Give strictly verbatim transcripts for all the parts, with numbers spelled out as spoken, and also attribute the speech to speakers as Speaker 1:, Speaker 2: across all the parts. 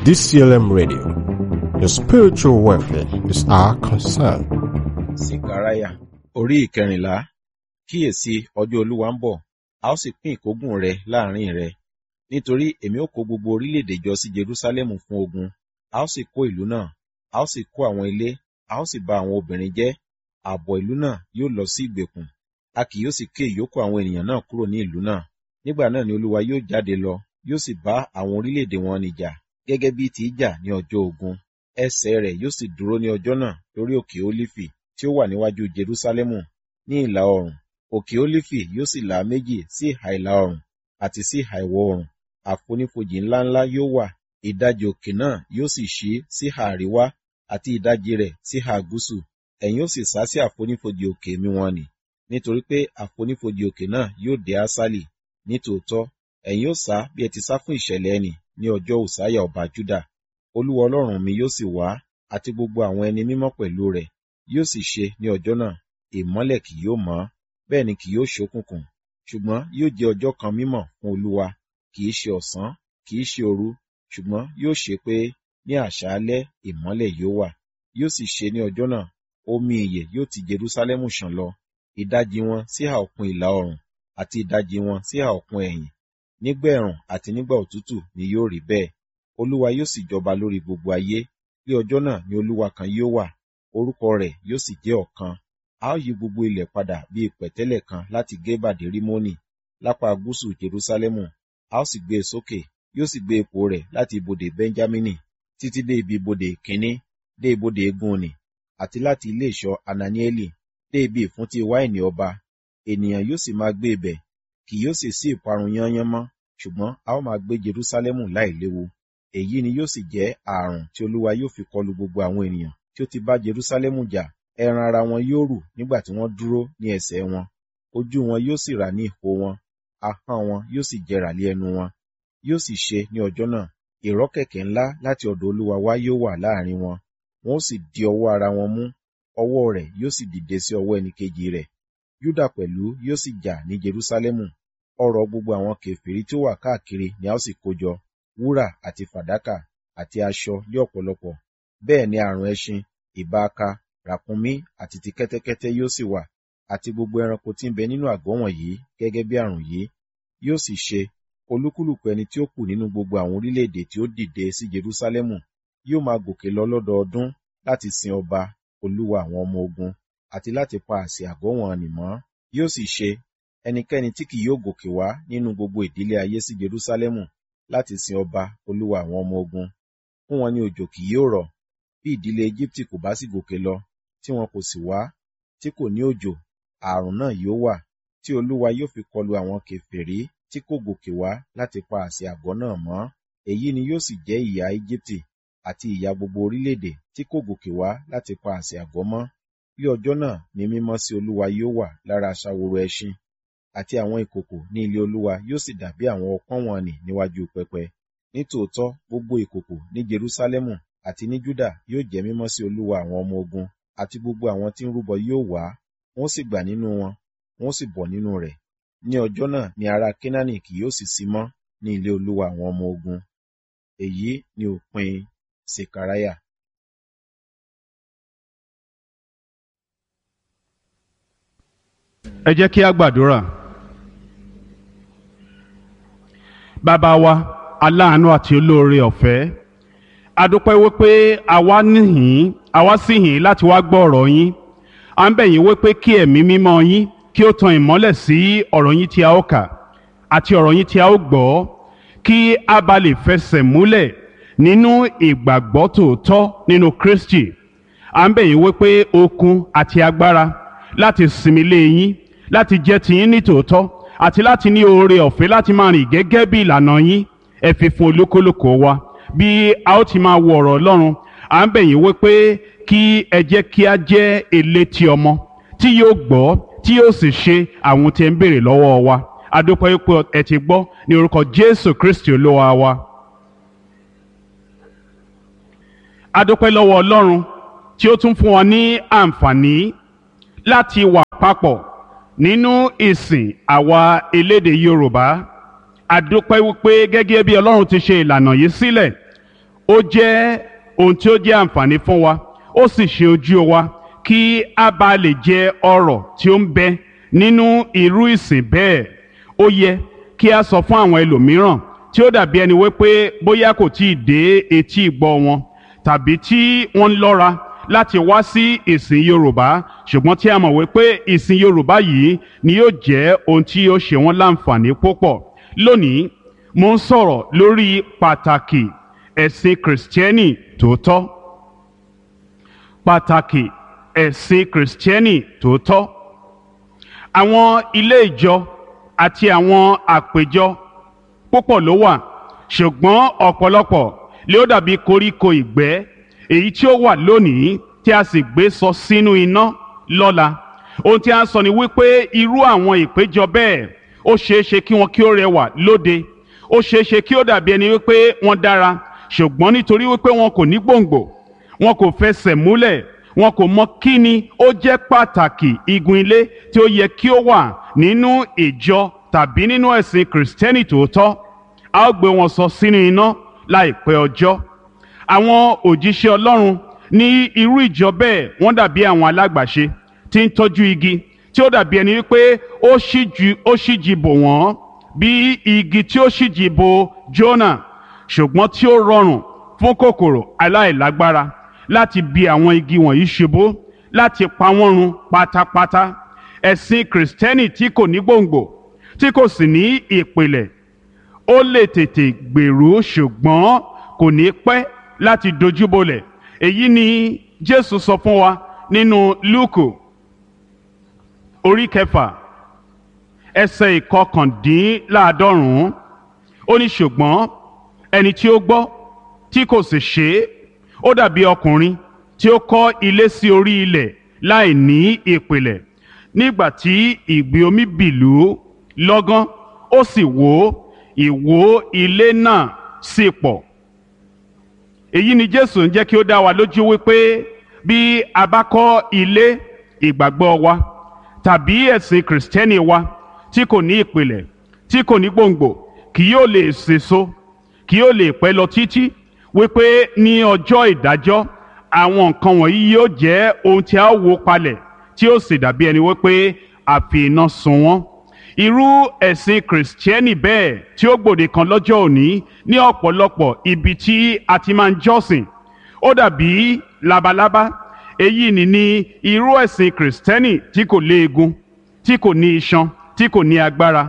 Speaker 1: D C L M Radio, the spiritual welfare is our concern.
Speaker 2: Sekaraya orí ìkẹrìnlá. Kíyèsí, ọjọ́ Olúwa ń bọ̀, a ó sì pín ìkógun rẹ láàrin rẹ. Nítorí èmi ó kó gbogbo orílẹ̀-èdè jọ sí Jerúsálẹ́mù fún ogun, a ó sì kó ìlú náà, a ó sì kó àwọn ilé, a ó sì ba àwọn obìnrin jẹ́. Ààbọ̀ ìlú náà yóò lọ sí ìgbèkùn, a kì yóò sì ké ìyókù àwọn ènìyàn náà kúrò ní ìlú náà. Nígbà náà ni Olúwa yóò jáde lọ, yóò sì bá àwọn orílẹ̀-èdè wọn nì jà, gẹ́gẹ́ bí ti í jà ní ọjọ́ ogun. Ẹsẹ̀ rẹ̀ yóò sì dúró ní ọjọ́ náà lórí òkè Ólífì tí ó wà níwájú Jerúsálẹ́mù ní ìlà oòrùn. Òkè Ólífì yóò sì là méjì sí ìhà ìlà oòrùn àti sí ìhà ìwọ̀ oòrùn. Àfonífojì ńláńlá yóò wà, ìdajì òkè náà yóò sì ṣí sí ìhà àríwá àti ìdajì rẹ̀ sí ìhà gúúsù. Ẹ̀yin ó sì sá sí àfonífojì òkè mi wọ̀n nì, nítorí pé àfonífojì òkè náà yóò dé Asali. Nítòótọ́, ẹ̀yin ó sá bí ẹ ti sá fún ìṣẹ̀lẹ̀ ẹnì ní ọjọ́ Usaiah ọba Juda. Olúwa Ọlọ́run mi yóò sì wá, àti gbogbo àwọn ẹni mímọ́ pẹ̀lú rẹ̀. Yóò sì ṣe ní ọjọ́ náà, ìmọ́lẹ̀ kì yóò mọ́, bẹ́ẹ̀ ni kì yóò ṣókùnkùn. Ṣùgbọ́n yóò jẹ́ ọjọ́ kan mímọ́ fún Olúwa, kì í ṣe ọ̀sán, kì í ṣe òru, ṣùgbọ́n yóò ṣe pé ní àṣálẹ́ ìmọ́lẹ̀ yóò wà. Yóò sì ṣe ní ọjọ́ náà, omi ìyè yóò ti Jerúsálẹ́mù ṣàn lọ, ìdajì wọn sí ìhà òkun ìlà oòrùn àti ìdajì wọn sí ìhà òkun ẹ̀yìn. Nígbà ẹ̀rùn àti nígbà òtútù ni yóò rí bẹ́ẹ̀. Olúwa yóò sì jọba lórí gbogbo ayé. Ní ọjọ́ náà ni Olúwa kan yóò wà, orúkọ rẹ̀ yóò sì jẹ́ ọ̀kan. A ó yí gbogbo ilẹ̀ padà bí pẹ̀tẹ́lẹ̀ kan láti Geba dé Rimoni, lápá gúúsù Jerúsálẹ́mù. A ó sì gbé e sókè, yóò sì gbé ipò rẹ̀ láti ibodè Benjamini títí dé ibi ibodè kínní, dé ibodè Egunni, àti láti ilé ìṣọ́ Ananieli dé ibi ìfúntí wáìnì ọba. Ènìyàn yóò sì máa gbé ibẹ̀, kì yóò sì sí ìparun yányán mọ́, ṣùgbọ́n a ó máa gbé Jerúsálẹ́mù láìléwu. Èyí ni yóò sì jẹ́ ààrùn tí Olúwa yóò fi kọlu gbogbo àwọn ènìyàn tí ó ti bá Jerúsálẹ́mù jà. Ẹran ara wọn yóò rù nígbà tí wọ́n dúró ní ẹsẹ̀ wọn, ojú wọn yóò sì rà ní ihò wọn, ahọ́n wọn yóò sì jẹrà lé ẹnu wọn. Yóò sì ṣe ní ọjọ́ náà, ìrọ́kẹ̀kẹ̀ ńlá láti ọ̀dọ̀ Olúwa wá yóò wà láàrin wọn, wọn ó sì di ọwọ́ ara wọn mú, ọwọ́ rẹ̀ yóò sì dìde sí ọwọ́ ẹnìkejì rẹ̀. Júdà pẹ̀lú yóò sì jà ní Jerúsálẹ́mù. Ọrọ̀ gbogbo àwọn kèfèrí tí ó wà káàkiri ni a ó sì kó jọ, wúrà àti fàdákà àti aṣọ lé ọ̀pọ̀lọpọ̀. Bẹ́ẹ̀ ni àrùn ẹṣin, ìbáaka, ràkúnmí àti ti kẹ́tẹ́kẹ́tẹ́ yóò sì wà, àti gbogbo ẹranko tí ń bẹ nínú àgọ́ wọ̀nyí gẹ́gẹ́ bí àrùn yìí. Yóò sì ṣe, olúkúlùkù ẹni tí ó kù nínú gbogbo àwọn orílẹ̀-èdè tí ó dìde sí Jerúsálẹ́mù yóò máa gòkè lọ lọ́dọọdún láti sin ọba, Olúwa àwọn ọmọ ogun, àti láti pa àsè àgọ́ wọn nì mọ́. Yóò sì ṣe, ẹnikẹ́ni tí kì yóò gòkè wá nínú gbogbo ìdílé ayé sí Jerúsálẹ́mù láti sin ọba, Olúwa àwọn ọmọ ogun. Fún wọn ni òjò kì yóò rọ̀, bí ìdílé Ejibiti kò bá sì gòkè lọ, tí wọn kò sì wá, tí kò ní òjò, ààrùn náà yóò wà, tí Olúwa yóò fi kọlu àwọn kèfèrí tí kò gòkè wá láti pa àsè àgọ́ náà mọ́. Èyí ni yóò sì jẹ́ ìyà Ejibiti àti ìyà gbogbo orílẹ̀-èdè tí kò gòkè wá láti pa àsè àgọ́ mọ́. Ní ọjọ́ náà ni mímọ́ sí Olúwa yóò wà lára aṣaworo ẹṣin, àti àwọn ìkòkò ní ilé Olúwa yóò sì dàbí àwọn ọpọ́n wọ̀n-ọn-nì níwájú pẹpẹ. Nítòótọ́ gbogbo ìkòkò ní Jerúsálẹ́mù àti ní Júdà yóò jẹ́ mímọ́ sí Olúwa àwọn ọmọ ogun, àti gbogbo àwọn tí ń rúbọ yóò wá, wọn ó sì gbà nínú wọn, wọn ó sì bọ̀ nínú rẹ̀. Ní ọjọ́ náà ni ará Kénáánì kì yóò sì sí mọ́ ní ilé Olúwa àwọn ọmọ ogun. Èyí ni òpin Sekaraya.
Speaker 3: Ẹ jẹ́ kí a gbàdúrà. Bàbá wa, aláàánú àti olóore ọ̀fẹ́, a dúpẹ́ wípé àwa níhìn, àwa sì hìn láti wá gbọ́ ọ̀rọ̀ yín. À ń bẹ̀ yín wípé kí ẹ̀mí mímọ́ yín kí ó tan ìmọ́lẹ̀ sí ọ̀rọ̀ yín tí a ó kà àti ọ̀rọ̀ yín tí a ó gbọ́, kí a bá lè fẹsẹ̀ múlẹ̀ nínú ìgbàgbọ́ tòótọ́ nínú Kristi. À ń bẹ̀ yín wípé okun àti agbára láti sinmi lé yín, láti jẹ́ tiyín ní tòótọ́, àti láti ní oore ọ̀fẹ́ láti máa rìn gẹ́gẹ́ bí ìlànà yín. Ẹ fi fún olúkúlùkù wa bí a ó ti máa wo ọ̀rọ̀ Ọlọ́run. À ń bẹ̀ yín wípé kí ẹ jẹ́ kí a jẹ́ elétí ọmọ tí yóò gbọ́, tí yóò sì ṣe àwọn tí ẹ ń béèrè lọ́wọ́ wa. A dúpẹ́ wípé ẹ ti gbọ́ ní orúkọ Jésù Kristi Olúwa wa. A dúpẹ́ lọ́wọ́ Ọlọ́run tí ó tún fún wa ní àǹfààní láti wà papọ̀ nínú ìsìn àwa elédè Yorùbá. A dúpẹ́ wípé gẹ́gẹ́ bí Ọlọ́run ti ṣe ìlànà yìí sílẹ̀, Ó jẹ́ ohun tí ó jẹ́ àǹfààní fún wa, ó sì ṣe ojú wa kí a bá lè jẹ ọrọ̀ tí ó ń bẹ nínú irú ìsìn bẹ́ẹ̀. Ó yẹ kí a sọ fún àwọn ẹlòmíràn tí ó dàbí ẹni wípé bóyá kò tí ì dé etí ìgbọ́ wọn, tàbí tí wọ́n ń lọ́ra láti wá sí ìsìn Yorùbá, ṣùgbọ́n tí a mọ̀ wípé ìsìn Yorùbá yìí ni yóò jẹ́ ohun tí yóò ṣe wọ́n láǹfààní púpọ̀. Lónìí, mo ń sọ̀rọ̀ lórí pàtàkì ẹ̀sìn Kìrìsìtẹ́nì tòótọ́. Pàtàkì ẹ̀sìn Kìrìsìtẹ́nì tòótọ́. Àwọn ilé ìjọ àti àwọn àpèjọ púpọ̀ ló wà, ṣùgbọ́n ọ̀pọ̀lọpọ̀ lé ó dàbí koríko ìgbẹ́ èyí tí ó wà lónìí tí a sì gbé sọ sínú iná lọ́la. Ohun tí a ń sọ ni wípé irú àwọn ìpéjọ bẹ́ẹ̀, ó ṣeé ṣe kí wọn kí ó rẹwà lóde, ó ṣeé ṣe kí ó dàbí ẹni wípé wọ́n dára, ṣùgbọ́n nítorí wípé wọn kò ní gbòǹgbò, wọn kò fẹsẹ̀ múlẹ̀, wọn kò mọ kí ni ó jẹ́ pàtàkì igun ilé tí ó yẹ kí ó wà nínú ìjọ tàbí nínú ẹ̀sìn Kìrìsìtẹ́nì tòótọ́, a ó gbé wọn sọ sínú iná láìpẹ́ ọjọ́. Àwọn òjíṣẹ́ Ọlọ́run ní irú ìjọ bẹ́ẹ̀, wọ́n dàbí àwọn alágbàṣe tí ń tọ́jú igi tí ó dàbí ẹni wípé ó ṣíjú ó ṣíji bò wọ́n bí igi tí ó ṣíji bò Jónà, ṣùgbọ́n tí ó rọrùn fún kòkòrò aláìlágbára láti bi àwọn igi wọ̀nyí ṣubú, láti pa wọ́n run pátápátá. Ẹ̀sìn Kìrìsìtẹ́nì tí kò ní gbòǹgbò, tí kò sì ní ìpìlẹ̀, ó lè tètè gbèrú, ṣùgbọ́n kò ní pẹ́ láti dojúbolẹ̀. Èyí ni Jésù sọ fún wa nínú Lúùkù orí kẹfà, ẹsẹ̀ ìkọkàndínláàádọ́rùn-ún. Ó ní, ṣùgbọ́n ẹni tí ó gbọ́ tí kò sì ṣe é, ó dàbí ọkùnrin tí ó kọ́ ilé sí orí ilẹ̀ láì ní ìpìlẹ̀. Nígbà tí ìgbì omi bìlú lọ́gán, ó sì wó, ìwó ilé náà sì pọ̀. Èyí ni Jésù ń jẹ́ kí ó dá wa lójú wípé bí a bá kọ́ ilé ìgbàgbọ́ wa tàbí ẹ̀sìn Kìrìsìtẹ́nì wa tí kò ní ìpìlẹ̀, tí kò ní gbòǹgbò, kì yóò lè sèso, kì yóò lè pẹ́ lọ títí, wípé ní ọjọ́ ìdájọ́ àwọn nǹkan wọ̀nyí yóò jẹ́ ohun tí a ó wó palẹ̀, tí ó sì dàbí ẹni wípé a fi iná sun wọ́n. Irú ẹ̀sìn Kìrìsìtẹ́nì bẹ́ẹ̀ tí ó gbòde kan lọ́jọ́ òní ní ọ̀pọ̀lọpọ̀ ibi tí a ti máa ń jọ́sìn, ó dàbí labalábá. Èyí ni ní irú ẹ̀sìn Kìrìsìtẹ́nì tí kò léegun, tí kò ní iṣan, tí kò ní agbára.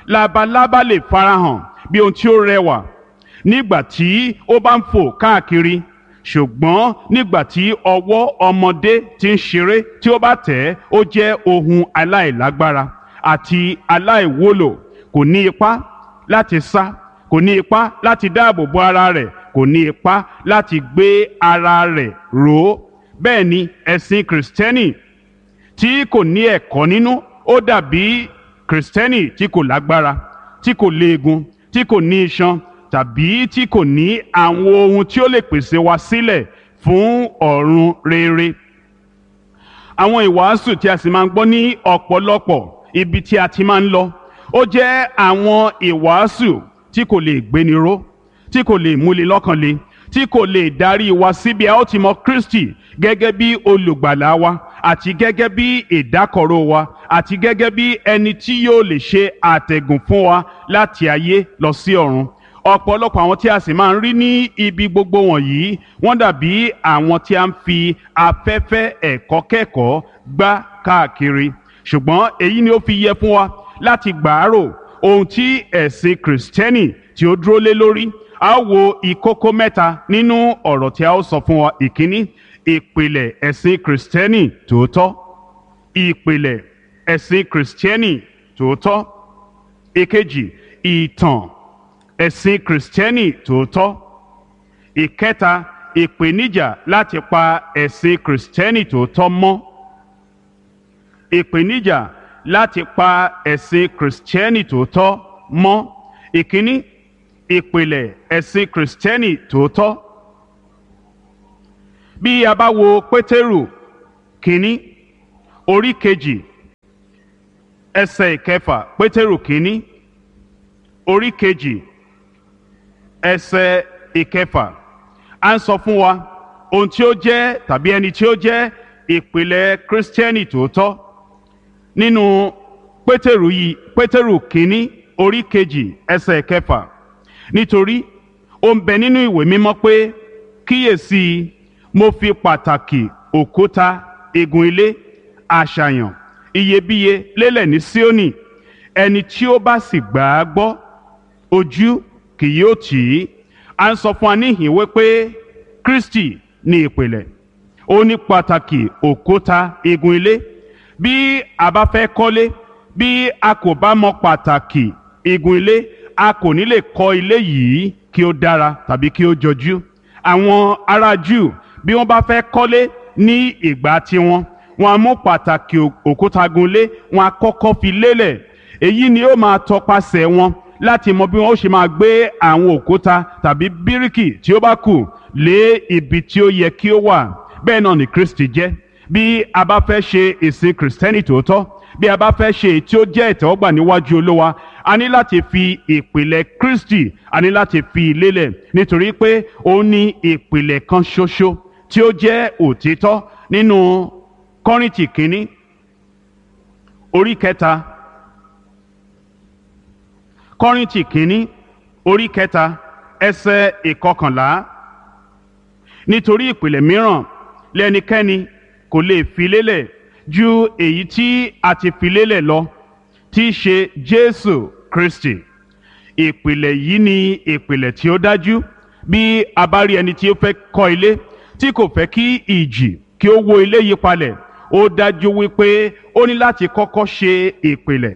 Speaker 3: Labalábá lè farahàn bí ohun tí ó rẹwà nígbà tí ó bá ń fò káàkiri, ṣùgbọ́n nígbà tí ọwọ́ ọmọdé ti ń ṣeré tí ó bá tẹ̀ ẹ́, ó jẹ́ ohun aláìlágbára àti aláìwúlò. Kò ní ipá láti sá, kò ní ipá láti dáàbò bo ara rẹ̀, kò ní ipá láti gbé ara rẹ̀ ró. Bẹ́ẹ̀ ni ẹ̀sìn Kìrìsìtẹ́nì tí kò ní ẹ̀kọ́ nínú, ó dàbí Kìrìsìtẹ́nì tí kò lágbára, tí kò léegun, tí kò ní iṣan, tàbí tí kò ní àwọn ohun tí ó lè pèsè wa sílẹ̀ fún ọ̀run rere. Àwọn ìwàásù tí a sì máa ń gbọ́ ní ọ̀pọ̀lọpọ̀ ibi tí a ti máa ń lọ, ó jẹ́ àwọn ìwàásù tí kò lè gbéni ró, tí kò lè múni lọ́kàn le, tí kò lè darí wa síbi a ó ti mọ Kristi gẹ́gẹ́ bí olùgbàlà wa, àti gẹ́gẹ́ bí ìdákọ̀ró wa, àti gẹ́gẹ́ bí ẹni tí yóò lè ṣe àtẹ̀gùn fún wa láti ayé lọ sí ọ̀run. Ọ̀pọ̀lọpọ̀ àwọn tí a sì máa ń rí ní ibi gbogbo wọ̀nyí, wọ́n dàbí àwọn tí a ń fi afẹ́fẹ́ ẹ̀kọ́ kẹ́kọ̀ọ́ gbá káàkiri. Ṣùgbọ́n èyí ni ó fi yẹ fún wa láti gbàárò ohun tí ẹ̀sìn Kìrìsìtẹ́nì tí ó dúró lé lórí. A ó wo ìkókó mẹ́ta nínú ọ̀rọ̀ tí a ó sọ fún wa. Ìkíní, ìpìlẹ̀ ẹ̀sìn Kìrìsìtẹ́nì tòótọ́. Ìpìlẹ̀ ẹ̀sìn Kìrìsìtẹ́nì tòótọ́. Ìkejì, ìtàn ẹ̀sìn Kìrìsìtẹ́nì tòótọ́. Ìkẹta, ìpèníjà láti pa ẹ̀sìn Kìrìsìtẹ́nì tòótọ́ mọ́. Ìpèníjà láti pa ẹ̀sìn Kìrìsìtẹ́nì tòótọ́ mọ́. Ìkíní, ìpìlẹ̀ ẹ̀sìn Kìrìsìtẹ́nì tòótọ́. Bí a bá wo Pétérù kínní orí kejì ẹsẹ̀ ìkẹfà, Pétérù kínní orí kejì ẹsẹ̀ ìkẹfà, À ń sọ fún wa ohun tí ó jẹ́ tàbí ẹni tí ó jẹ́ ìpìlẹ̀ Kírísítẹ́nì tòótọ́ nínú Pétérù yìí, Pétérù kínní orí kejì ẹsẹ̀ kẹfà. Nítorí ó ń bẹ nínú ìwé mímọ́ pé, kíyèsí, mo fi pàtàkì òkúta igun ilé àṣàyàn iyebíye lélẹ̀ ní Síónì, ẹni tí ó bá sì gbà á gbọ́, ojú kì yóò tì í. À ń sọ fún wa níhìn wípé Kristi ní ìpìlẹ̀, ó ní pàtàkì òkúta igun ilé. Bí a bá fẹ́ kọ́lé, bí a kò bá mọ pàtàkì igun ilé, a kò ní lè kọ́ ilé yìí kí ó dára tàbí kí ó jọjú. Àwọn ará Júù, bí wọ́n bá fẹ́ kọ́lé ní ìgbà tiwọn, wọ́n á mú pàtàkì òkúta gun ilé, wọ́n á kọ́kọ́ fi lélẹ̀. Èyí ni ó máa tọpasẹ̀ wọn láti mọ bí wọn ó ṣe máa gbé àwọn òkúta tàbí bíríkì tí ó bá kù lé ibi tí ó yẹ kí ó wà. Bẹ́ẹ̀ náà ni Kristi jẹ́. Bí a bá fẹ́ ṣe ìsìn Kìrìsìtẹ́nì tòótọ́, bí a bá fẹ́ ṣe èyí tí ó jẹ́ ìtẹ́wọ́gbà níwájú Olúwa, a ní láti fi ìpìlẹ̀ Kristi, a ní láti fi lélẹ̀, nítorí pé ó ní ìpìlẹ̀ kan ṣoṣo tí ó jẹ́ òtítọ́. Nínú Kọ́ríńtì kínní orí kẹta, Kọ́ríńtì kínní orí kẹta ẹsẹ̀ ìkọkànlá, nítorí ìpìlẹ̀ mìíràn lẹ́nikẹ́ni kò lè fi lélẹ̀ ju èyí tí a ti fi lélẹ̀ lọ, tí í ṣe Jésù Kristi. Ìpìlẹ̀ yìí ni ìpìlẹ̀ tí ó dájú. Bí a bá rí ẹni tí ó fẹ́ kọ́ ilé tí kò fẹ́ kí ìjì kí ó wó ilé yìí palẹ̀, ó dájú wípé ó ní láti kọ́kọ́ ṣe ìpìlẹ̀,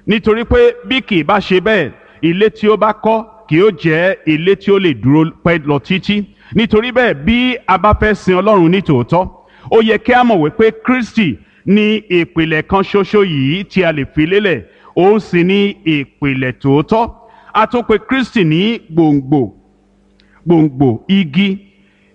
Speaker 3: nítorí pé bí kì í bá ṣe bẹ́ẹ̀, ilé tí ó bá kọ́ kì yóò jẹ́ ilé tí ó lè dúró pẹ́ lọ títí. Nítorí bẹ́ẹ̀, bí a bá fẹ́ sin Ọlọ́run ní tòótọ́, ó yẹ kí a mọ̀ wípé Kristi ní ìpìlẹ̀ kan ṣoṣo yìí tí a lè fi lélẹ̀, òun sì ní ìpìlẹ̀ tòótọ́. A tún pè Kristi ní gbòǹgbò, gbòǹgbò igi.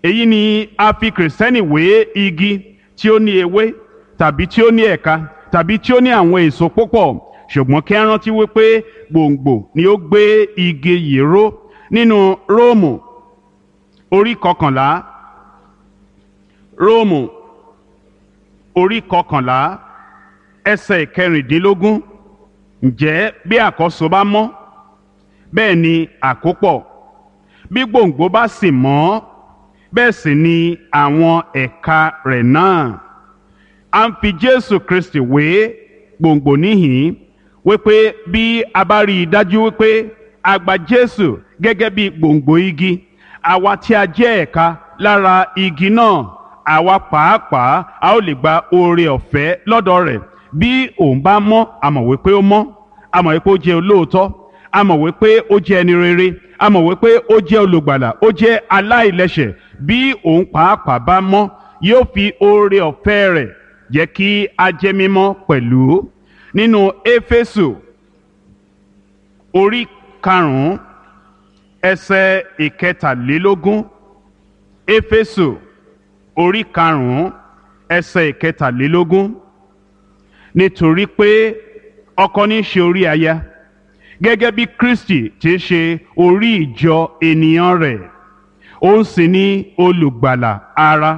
Speaker 3: Èyí ni a fi Kìrìsìtẹ́nì wé igi tí ó ní ewé tàbí tí ó ní ẹ̀ka tàbí tí ó ní àwọn èso púpọ̀, ṣùgbọ́n kí a rántí wípé gbòǹgbò ni ó gbé igi yìí ró. Nínú Róòmù orí kọkànlá, Róòmù orí kọkànlá ẹsẹ̀ ìkẹrìndínlógún, ǹjẹ́ bí àkọ́so bá mọ́, bẹ́ẹ̀ ni àkópọ̀; bí gbòǹgbò bá sì mọ́, bẹ́ẹ̀ sì ni àwọn ẹ̀ka rẹ̀ náà. A ń fi Jésù Kristi wé gbòǹgbò níhìn-ín, wípé bí a bá rí i dájú wípé a gba Jésù gẹ́gẹ́ bí gbòǹgbò igi, àwa tí a jẹ́ ẹ̀ka lára igi náà, àwa pàápàá a ó lè gba oore ọ̀fẹ́ lọ́dọ̀ rẹ̀. Bí òun bá mọ́, a mọ̀ wípé ó mọ́, a mọ̀ wípé ó jẹ́ olóòótọ́, a mọ̀ wípé ó jẹ́ ẹni rere, a mọ̀ wípé ó jẹ́ olùgbàlà, ó jẹ́ aláìlẹ́ṣẹ̀. Bí òun pàápàá bá mọ́, yóò fi oore ọ̀fẹ́ rẹ̀ jẹ́ kí a jẹ́ mímọ́ pẹ̀lú. Nínú Éfésù orí karùn-ún ẹsẹ̀ ìkẹtàlélógún, Éfésù orí karùn-ún ẹsẹ̀ ìkẹtàlélógún, nítorí pé ọkọ ní í ṣe orí aya, gẹ́gẹ́ bí Kristi ti ṣe orí ìjọ ènìyàn rẹ̀, òun sì ni olùgbàlà ara.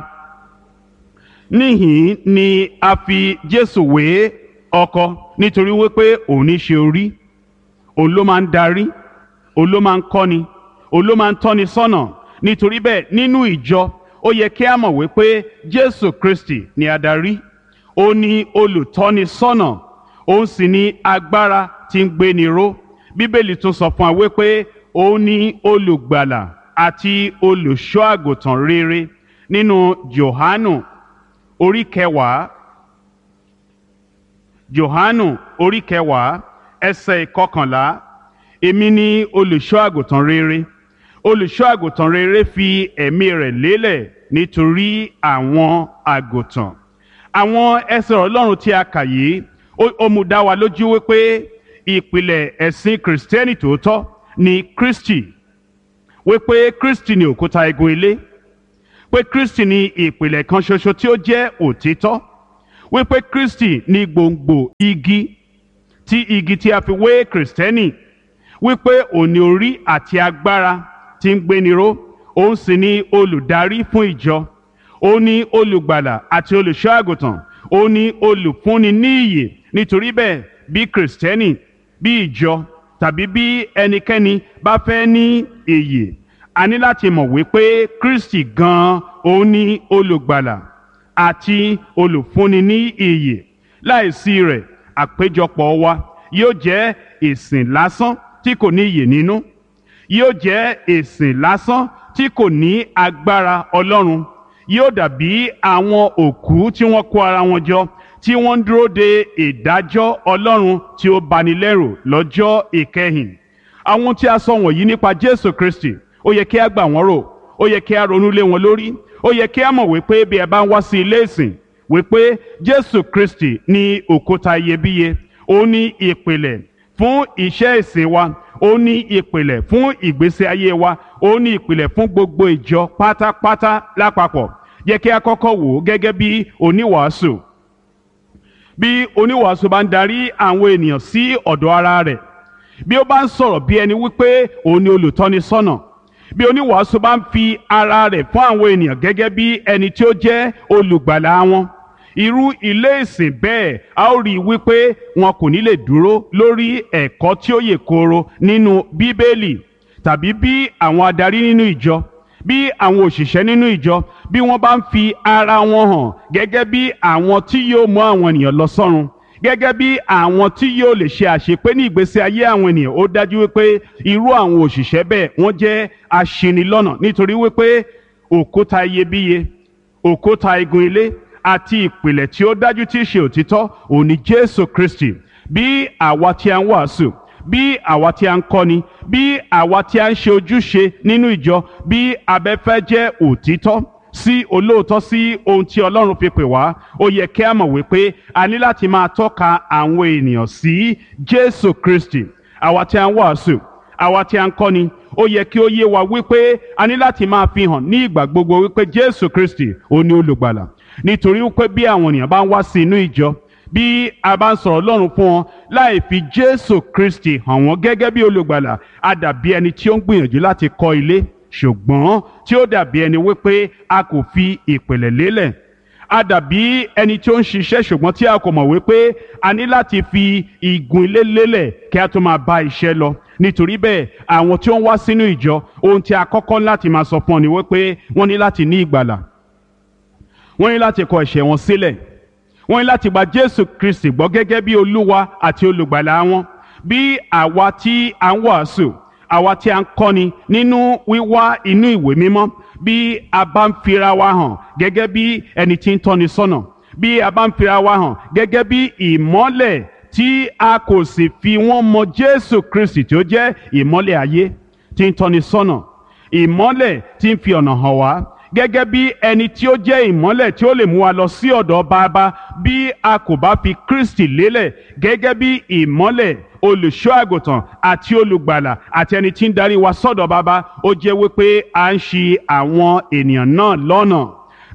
Speaker 3: Níhìn ni a fi Jésù wé ọkọ, nítorí wípé òun ní ṣe orí, òun ló máa ń darí, òun ló máa ń kọ́ni, òun ló máa ń tọ́ni sọ́nà. Nítorí bẹ́ẹ̀, nínú ìjọ ó yẹ kí a mọ̀ wípé Jésù Kristi ni adarí, ó ní olùtọ́ni sọ́nà, òun sì ní agbára tí ń gbéni ró. Bíbélì tún sọ fún wa wípé òun ní olùgbàlà àti olùṣọ́ àgùntàn rere. Nínú Jòhánù orí kẹwàá, Jòhánù orí kẹwàá ẹsẹ̀ ìkọkànlá, èmi ni olùṣọ́ àgùntàn rere. Olùṣọ́ àgùntàn rere fi ẹ̀mí rẹ̀ lélẹ̀ nítorí àwọn àgùntàn. Àwọn ẹsẹ̀ Ọlọ́run tí a kà yìí, ó mú dá wa lójú wípé ìpìlẹ̀ ẹ̀sìn Kìrìsìtẹ́nì tòótọ́ ni Kristi, wípé Kristi ni òkúta igun ilé, pé Kristi ni ìpìlẹ̀ kan ṣoṣo tí ó jẹ́ òtítọ́, wípé Kristi ni gbòǹgbò igi, tí igi tí a fi wé Kìrìsìtẹ́nì, wípé òní orí àti agbára tí ń gbéni ró, Òun sì ni olùdarí fún ìjọ. Ó ní olùgbàlà àti olùṣọ́ àgùntàn. Ó ní olùfúnni ní ìyè. Nítorí bẹ́ẹ̀, bí Kìrìsìtẹ́nì, bí ìjọ tàbí bí ẹnikẹ́ni bá fẹ́ ní ìyè, a ní láti mọ̀ wípé Kristi gan-an òun ní olùgbàlà àti olùfúnni ní ìyè. Láìsí rẹ̀, àpéjọpọ̀ wa yóò jẹ́ ìsìn lásán tí kò ní ìyè nínú, yóò jẹ́ ìsìn lásán tí kò ní agbára Ọlọ́run. Yóò dàbí àwọn òkú tí wọ́n kó ara wọn jọ, tí wọ́n ń dúró de ìdájọ́ Ọlọ́run tí ó bani lẹ́rù lọ́jọ́ ìkẹyìn. Àwọn tí a sọ wọ̀nyí nípa Jésù Kristi, ó yẹ kí a gbà wọ́n rò, ó yẹ kí a ronú lé wọn lórí, ó yẹ kí a mọ̀ wípé bí ẹ bá ń wá sí ilé ìsìn, wípé Jésù Kristi ní òkúta iyebíye, ó ní ìpìlẹ̀ fún iṣẹ́ ìsìn wa, ó ní ìpìlẹ̀ fún ìgbésí ayé wa, ó ní ìpìlẹ̀ fún gbogbo ìjọ pátápátá lápapọ̀. Yẹ kí a kọ́kọ́ wò ó gẹ́gẹ́ bí oníwàásù. Bí oníwàásù bá ń darí àwọn ènìyàn sí ọ̀dọ̀ ara rẹ̀, bí ó bá ń sọ̀rọ̀ bí ẹni wípé òun ni olùtọ́nisọ́nà, bí oníwàásù bá ń fi ara rẹ̀ fún àwọn ènìyàn gẹ́gẹ́ bí ẹni tí ó jẹ́ olùgbàlà wọn, irú ilé ìsìn bẹ́ẹ̀, a ó rí i wípé wọn kò ní lè dúró lórí ẹ̀kọ́ tí ó yè kooro nínú Bíbélì. Tàbí bí àwọn adarí nínú ìjọ, bí àwọn òṣìṣẹ́ nínú ìjọ, bí wọ́n bá ń fi ara wọn hàn gẹ́gẹ́ bí àwọn tí yóò mú àwọn ènìyàn lọ sọ́run, gẹ́gẹ́ bí àwọn tí yóò lè ṣe àṣepé ní ìgbésí ayé àwọn ènìyàn, ó dájú wípé irú àwọn òṣìṣẹ́ bẹ́ẹ̀ wọ́n jẹ́ aṣinilọ́nà, nítorí wípé òkúta iyebíye, òkúta igun ilé àti ìpìlẹ̀ tí ó dájú tí í ṣe òtítọ́ òun ni Jésù Kristi. Bí àwa tí a ń wàásù, bí àwa tí a ń kọ́ni, bí àwa tí a ń ṣe ojúṣe nínú ìjọ, bí abẹ́fẹ́ jẹ́ òtítọ́ sí olóòótọ́ sí ohun tí Ọlọ́run fi pè wá, ó yẹ kí a mọ̀ wípé a ní láti máa tọ́ka àwọn ènìyàn sí Jésù Kristi. Àwa tí a ń wàásù, àwa tí a ń kọ́ni, ó yẹ kí ó yé wa wípé a ní láti máa fi hàn ní ìgbà gbogbo wípé Jésù Kristi òun ni olùgbàlà. Nítorí wípé bí àwọn ènìyàn bá ń wá sí inú ìjọ, bí a bá ń sọ̀rọ̀ Ọlọ́run fún wọn láì fi Jésù Kristi hàn wọ́n gẹ́gẹ́ bí olùgbàlà, a dàbí ẹni tí ó ń gbìyànjú láti kọ́ ilé, ṣùgbọ́n tí ó dàbí ẹni wípé a kò fi ìpìlẹ̀ lélẹ̀. A dàbí ẹni tí ó ń ṣiṣẹ́, ṣùgbọ́n tí a kò mọ̀ wípé a ní láti fi igun ilé lélẹ̀ kí a tó máa bá iṣẹ́ lọ. Nítorí bẹ́ẹ̀, àwọn tí ó ń wá sínú ìjọ, ohun tí a kọ́kọ́ láti máa sọ fún ọ ni wípé wọ́n ní láti ní ìgbàlà, wọ́n ní láti kọ ẹ̀ṣẹ̀ wọn sílẹ̀, wọ́n ní láti gba Jésù Kristi gbọ́ gẹ́gẹ́ bí Olúwa àti olùgbàlà wọn. Bí àwa tí a ń wàásù, àwa tí a ń kọ́ni nínú wíwá inú ìwé mímọ́, bí a bá ń fira wa hàn gẹ́gẹ́ bí ẹni tí ń tọ́ni sọ́nà, bí a bá ń fira wa hàn gẹ́gẹ́ bí ìmọ́lẹ̀ tí a kò sì fi wọ́n mọ Jésù Kristi tí ó jẹ́ ìmọ́lẹ̀ ayé tí ń tọ́ni sọ́nà, ìmọ́lẹ̀ tí ń fi ọ̀nà hàn wá, gẹ́gẹ́ bí ẹni tí ó jẹ́ ìmọ́lẹ̀ tí ó lè mú wa lọ sí ọ̀dọ̀ Bàbá, bí a kò bá fi Kristi lélẹ̀ gẹ́gẹ́ bí ìmọ́lẹ̀, olùṣọ́ àgùntàn àti olùgbàlà àti ẹni tí ń darí wa sọ́dọ̀ Bàbá, ó jẹ́ wípé à ń ṣì àwọn ènìyàn náà lọ́nà.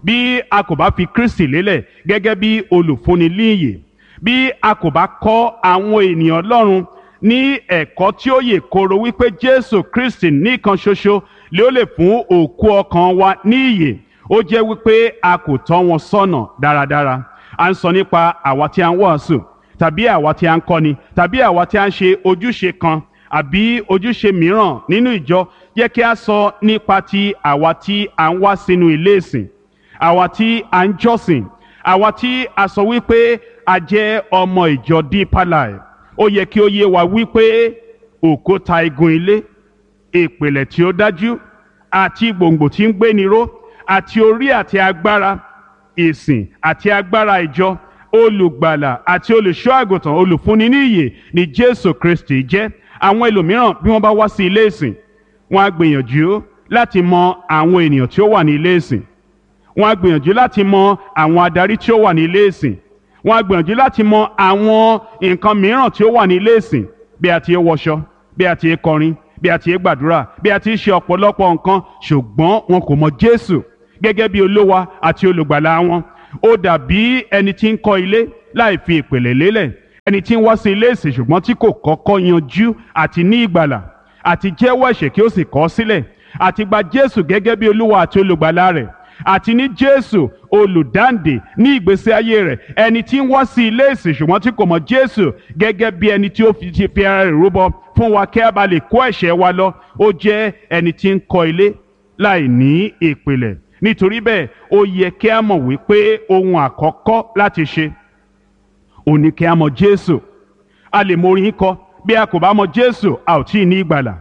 Speaker 3: Bí a kò bá fi Kristi lélẹ̀ gẹ́gẹ́ bí olùfúnni líyè, bí a kò bá kọ́ àwọn ènìyàn Ọlọ́run ní ẹ̀kọ́ tí ó yè kooro wípé Jésù Kristi nìkan ṣoṣo lé ó lè fún òkú ọkàn wa ní ìyè, ó jẹ́ wípé a kò tọ́ wọn sọ́nà dáradára. À ń sọ nípa àwa tí a ń wàásù, tàbí àwa tí a ń kọ́ni, tàbí àwa tí a ń ṣe ojúṣe kan àbí ojúṣe mìíràn nínú ìjọ. Jẹ́ kí a sọ nípa ti àwa tí a ń wá sínú ilé ìsìn, àwa tí a ń jọ́sìn, àwa tí a sọ wípé a jẹ́ ọmọ ìjọ Deeper Life. Ó yẹ kí ó yé wa wípé òkúta igun ilé, ìpìlẹ̀ tí ó dájú àti gbòǹgbò tí ń gbéni ró àti orí àti agbára ìsìn àti agbára ìjọ, olùgbàlà àti olùṣọ́ àgùntàn, olùfúnni ní ìyè ni Jésù Kristi jẹ́. Àwọn ẹlòmíràn bí wọ́n bá wá sí ilé ìsìn, wọ́n á gbìyànjú láti mọ àwọn ènìyàn tí ó wà ní ilé ìsìn, wọ́n á gbìyànjú láti mọ àwọn adarí tí ó wà ní ilé ìsìn, wọ́n á gbìyànjú láti mọ àwọn nǹkan mìíràn tí ó wà ní ilé ìsìn, bí a ti ń wọṣọ, bí a ti ń kọrin, bí a ti ń gbàdúrà, bí a ti ń ṣe ọ̀pọ̀lọpọ̀ nǹkan, ṣùgbọ́n wọn kò mọ Jésù gẹ́gẹ́ bí Olúwa àti olùgbàlà wọn. Ó dàbí ẹni tí ń kọ́ ilé láì fi ìpìlẹ̀ lélẹ̀, ẹni tí ń wá sí ilé ìsìn ṣùgbọ́n tí kò kọ́kọ́ yanjú àti ní ìgbàlà àti jẹ́wọ́ ẹ̀ṣẹ̀ kí ó sì kọ̀ ọ́ sílẹ̀, àti gba Jésù gẹ́gẹ́ bí Olúwa àti olùgbàlà rẹ̀, àti ní Jésù olùdáǹdè ní ìgbésí ayé rẹ̀. Ẹni tí ń wá sí ilé ìsìn ṣùgbọ́n tí kò mọ̀ Jésù gẹ́gẹ́ bí ẹni tí ó fi ti fi ara rẹ̀ rúbọ fún wa kí a bá lè kó ẹ̀ṣẹ̀ wa lọ, ó jẹ́ ẹni tí ń kọ́ ilé láì ní ìpìlẹ̀. Nítorí bẹ́ẹ̀, ó yẹ kí a mọ̀ wípé ohun àkọ́kọ́ láti ṣe òun ni kí a mọ̀ Jésù. A lè mọ orin kọ, bí a kò bá mọ̀ Jésù a ò tí ì ní ìgbàlà.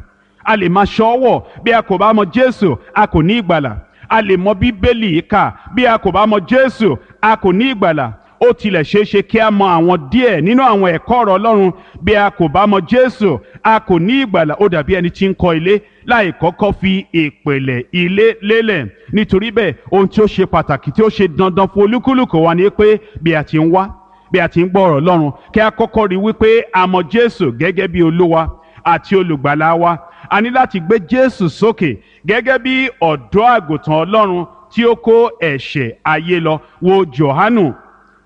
Speaker 3: A lè máa ṣọ́wọ̀, bí a kò bá mọ̀ Jésù a kò ní ìgbàlà. A lè mọ Bíbélì kà, bí a kò bá mọ̀ Jésù a kò ní ìgbàlà. Ó tilẹ̀ ṣeé ṣe kí a mọ àwọn díẹ̀ nínú àwọn ẹ̀kọ́ ọ̀rọ̀ Ọlọ́run, bí a kò bá mọ̀ Jésù a kò ní ìgbàlà. Ó dàbí ẹni tí ń kọ́ ilé láì kọ́kọ́ fi ìpìlẹ̀ ilé lélẹ̀. Nítorí bẹ́ẹ̀, ohun tí ó ṣe pàtàkì tí ó ṣe dandan fún olúkúlùkù wa ni pé bí a ti ń wá, bí a ti ń gbọ́ ọ̀rọ̀ Ọlọ́run, kí a kọ́kọ́ rí wípé a mọ̀ Jésù gẹ́gẹ́ bí Olúwa àti olùgbàlà wa. A ní láti gbé Jésù sókè gẹ́gẹ́ bí ọ̀dọ́ àgùntàn Ọlọ́run tí ó kó ẹ̀ṣẹ̀ ayé lọ. Wo Jòhánù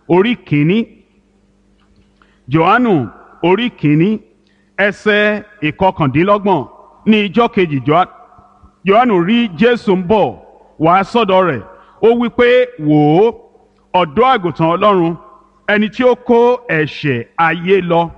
Speaker 3: orí kìíní. Jòhánù orí kìíní ẹsẹ̀ ìkọkàndínlọ́gbọ̀n. Ní ijọ́ kejì Jòhánù rí Jésù ń bọ̀ wá sọ́dọ̀ rẹ̀. Ó wí pé, wò ó, ọ̀dọ́ àgùntàn Ọlọ́run, ẹni tí ó kó ẹ̀ṣẹ̀ ayé lọ.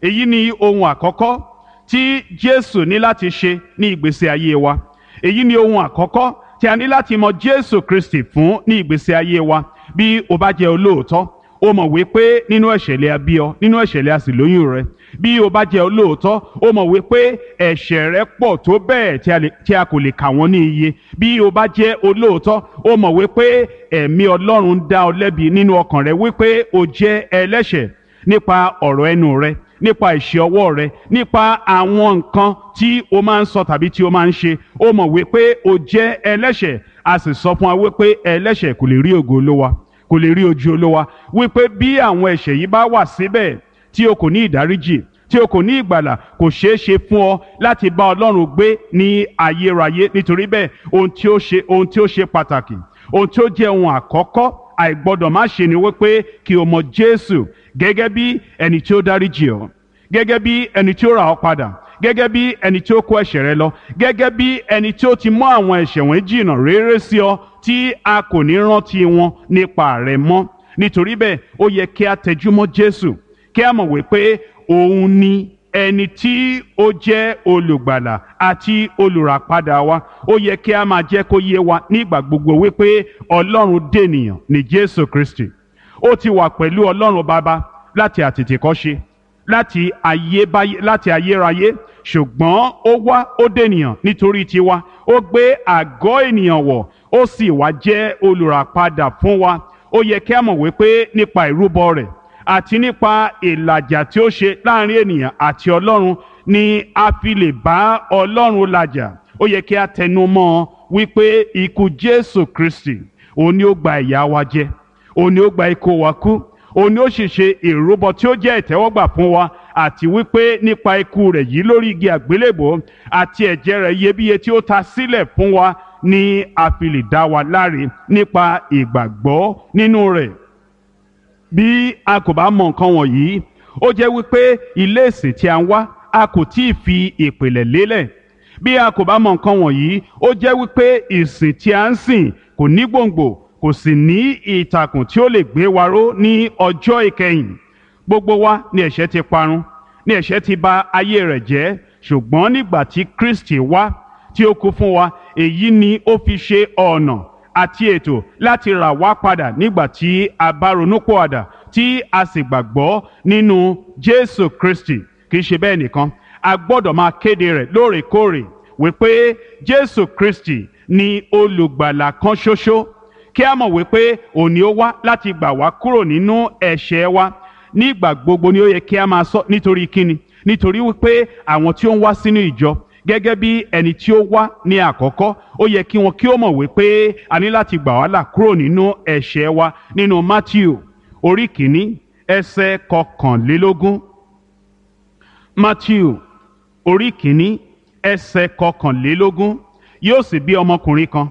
Speaker 3: Èyí ni ohun àkọ́kọ́ tí Jésù ní láti ṣe ní ìgbésí ayé wa. Èyí ni ohun àkọ́kọ́ tí a ní láti mọ Jésù Kristi fún ní ìgbésí ayé wa. Bí o bá jẹ́ olóòótọ́, o mọ̀ wípé nínú ẹ̀ṣẹ̀ lè a bí ọ, nínú ẹ̀ṣẹ̀ lè a sì lóyún rẹ. Bí o bá jẹ́ olóòótọ́, o mọ̀ wípé ẹ̀ṣẹ̀ rẹ pọ̀ tó bẹ́ẹ̀ tí a kò lè kà wọ́n ní iye. Bí o bá jẹ́ olóòótọ́, o mọ̀ wípé ẹ̀mí Ọlọ́run ń dá ọ lẹ́bi nínú ọkàn rẹ wípé o jẹ́ ẹlẹ́ṣẹ̀ nípa ọ̀rọ̀ ẹnu rẹ, nípa ìṣe ọwọ́ rẹ, nípa àwọn nǹkan tí o máa ń sọ tàbí tí o máa ń ṣe. O mọ̀ wípé o jẹ́ ẹlẹ́ṣẹ̀. A sì sọ fún wa wípé ẹlẹ́ṣẹ̀ kò lè rí ògo Olúwa, kò lè rí ojú Olúwa. Wípé bí àwọn ẹ̀ṣẹ̀ yìí bá wà síbẹ̀ tí o kò ní ìdáríjì, tí o kò ní ìgbàlà, kò ṣeé ṣe fún ọ láti bá Ọlọ́run gbé ní ayérayé. Nítorí bẹ́ẹ̀, ohun tí ó ṣe ohun tí ó ṣe pàtàkì, ohun tí ó jẹ́ ohun àkọ́kọ́ àìgbọ́dọ̀ má ṣe ni wípé kí o mọ̀ Jésù gẹ́gẹ́ bí ẹni tí ó dáríjì ọ́, gẹ́gẹ́ bí ẹni tí ó rà ọ́ padà, gẹ́gẹ́ bí ẹni tí ó kó ẹ̀ṣẹ̀ rẹ lọ, gẹ́gẹ́ bí ẹni tí ó ti mú àwọn ẹ̀ṣẹ̀ wọ̀nyí jìnnà réré sí ọ tí a kò ní rántí wọn nípa rẹ mọ́. Nítorí bẹ́ẹ̀, ó yẹ kí a tẹjúmọ́ Jésù, kí a mọ̀ wípé òun ni ẹni tí ó jẹ́ olùgbàlà àti olùràpadà wa. Ó yẹ kí a máa jẹ́ kó yé wa nígbà gbogbo wípé Ọlọ́run dènìyàn ní Jésù Kristi. Ó ti wà pẹ̀lú Ọlọ́run Baba láti àtètèkọ́ṣe, láti ayébáyé, láti ayérayé, ṣùgbọ́n ó wá, ó dènìyàn nítorí tiwa. Ó gbé àgọ́ ènìyàn wọ̀, ó sì wá jẹ́ olùràpadà fún wa. Ó yẹ kí a mọ̀ wípé nípa ìrúbọ rẹ̀ àti nípa ìlàjà tí ó ṣe láàrin ènìyàn àti Ọlọ́run ni a fi lè bá Ọlọ́run làjà. Ó yẹ kí a tẹnu mọ́ wípé ikú Jésù Kristi òun ni ó gba ìyà wa jẹ, òun ni ó gba ikú wa kú, òun ni ó sì ṣe ìrúbọ tí ó jẹ́ ìtẹ́wọ́gbà fún wa, àti wípé nípa ikú rẹ̀ yìí lórí igi àgbélébòó àti ẹ̀jẹ̀ rẹ̀ iyebíye tí ó ta sílẹ̀ fún wa ni a fi lè dá wa láre nípa ìgbàgbọ́ nínú rẹ̀. Bí a kò bá mọ nǹkan wọ̀nyí, ó jẹ́ wípé ilé ìsìn tí a ń wá a kò tí ì fi ìpìlẹ̀ lélẹ̀. Bí a kò bá mọ nǹkan wọ̀nyí, ó jẹ́ wípé ìsìn tí a ń sìn kò ní gbòǹgbò, kò sì ní ìtàkùn tí ó lè gbé wa ró ní ọjọ́ ìkẹyìn. Gbogbo wa ni ẹ̀ṣẹ̀ ti parun, ni ẹ̀ṣẹ̀ ti bà ayé rẹ̀ jẹ́. Ṣùgbọ́n nígbà tí Kristi wá tí ó kú fún wa, èyí ni ó fi ṣe ọ̀nà àti ètò láti rà wá padà nígbà tí a bá ronúpìwàdà tí a sì gbàgbọ́ nínú Jésù Kristi. Kì í ṣe bẹ́ẹ̀ nìkan, a gbọ́dọ̀ máa kéde rẹ̀ lóòrèkóòrè wípé Jésù Kristi ni olùgbàlà kan ṣoṣo, kí a mọ̀ wípé òun ni ó wá láti gbà wá kúrò nínú ẹ̀ṣẹ̀ wa. Nígbà gbogbo ni ó yẹ kí a máa sọ. Nítorí kíni? Nítorí wípé àwọn tí ó ń wá sínú ìjọ gẹ́gẹ́ bí ẹni tí ó wá ní àkọ́kọ́, ó yẹ kí wọn kí ó mọ̀ wípé a ní láti gbà wá là kúrò nínú ẹ̀ṣẹ̀ wa. Nínú Matthew orí kìíní ẹsẹ̀ kọkànlélógún. Matthew orí kìíní ẹsẹ̀ kọkànlélógún. Yóò sì bí ọmọkùnrin kan,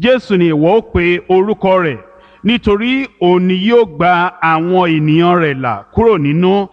Speaker 3: Jésù ni ìwọ ó pe orúkọ rẹ̀, nítorí òun ni yóò gba àwọn ènìyàn rẹ̀ là kúrò nínú